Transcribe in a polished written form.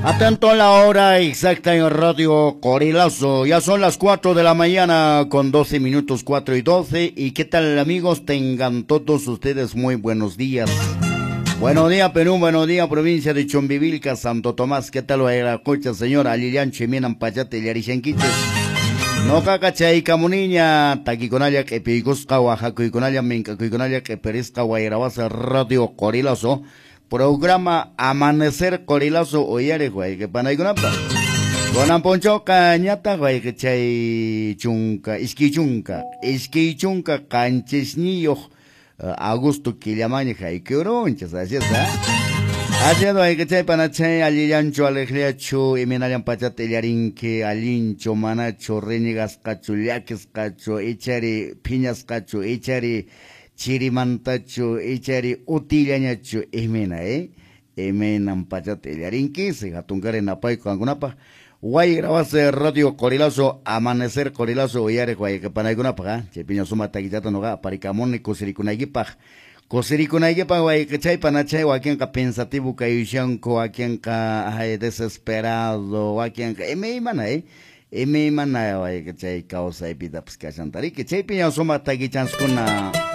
Atento a la hora exacta en Radio Corilazo. Ya son las 4 de la mañana con 12 minutos, 4:12. ¿Y qué tal, amigos? Tengan todos ustedes muy buenos días. Buenos días, Perú. Buenos días, provincia de Chumbivilca, Santo Tomás. ¿Qué tal, Cocha, señor? Alillancho, Minan, Pachate, Yarishanquiches. No cachay camuniña, taquiconalla, q'ipiykusqa, waqakuykunalla, mink'akuykunalla, q'ipirisqa, wayrawasa, Radio Corilazo. Programa Amanecer Corilazo uyariq wayqipanaykunapaq. Kunan p'unchawqa ñataq wayqichay chunka, 27 agosto killamanña haykurunchis, así es, ¿ah? Así es, wayqichay panachay, allillanchu, alegriachu, imaynallan pachata illarinki, allinchu, manachu, renegasqachu, llakisqachu, ichari phiñasqachu, ichari chirimantachu, ichari utillañachu, imayna, eh? Imaynan pachata illarinki, hatunkari napayku qankunapaq. Wayrawase Radio Corilazo, Amanecer Corilazo, uyariq wayqipanaykunapaq, ¿ah? Chaypiña suma takichata nuqa aparikamuni kusirikunaykipaq. Kusirikunaykipaq wayqichay panachay, wakinqa pensativo kayushanku, wakinqa ay desesperado, wakinqa imaymana, eh? Imaymana wayqichay kawsaypitapas kashantariki. Chaypiña suma takichanskuna.